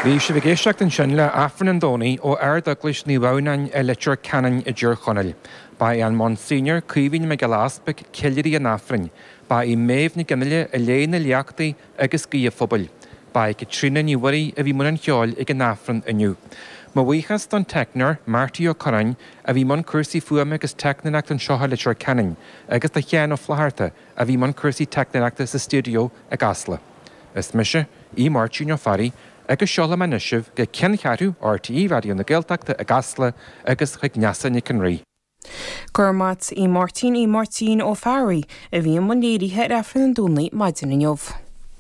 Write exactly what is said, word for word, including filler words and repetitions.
Bhí sibh ag éisteacht ansin le Aifreann an Domhnaigh ó Ard-Eaglais Naomh Adhamhnáin i Leitir Ceanainn i dTír Chonaill. Ba é an Monsignor Caoimhín Mac Giolla Easpaig ceiliúraí an Aifrinn. Ba í Méabh Nic Fhionnghaile a léigh na léachtaí agus guí an phobail. Ba í Caitríona Ní Mhuirí a bhí i mbun an cheoil ag an Aifreann inniu. Mo bhuíochas don teicneoir Marty Ó Curráin a bhí i mbun cúrsaí fuaime agus teicneoireachta anseo i Leitir Ceanainn, agus do Sheán Ó Flatharta a bhí i mbun cúrsaí teicneoireachta sa stiúideo i gCasla. Is mise, í Máirtín Ó Fearraigh, agus seolaim anois sibh go ceanncheathrú RTÉ Raidió na Gaeltachta i gCasla agus chuig Neasa Nic an Rí. Gur mat í Máirtín í Máirtín Ó Fearraigh a bhí i mbun léirithe ar Aifreann an Domhnaigh maidin inniu.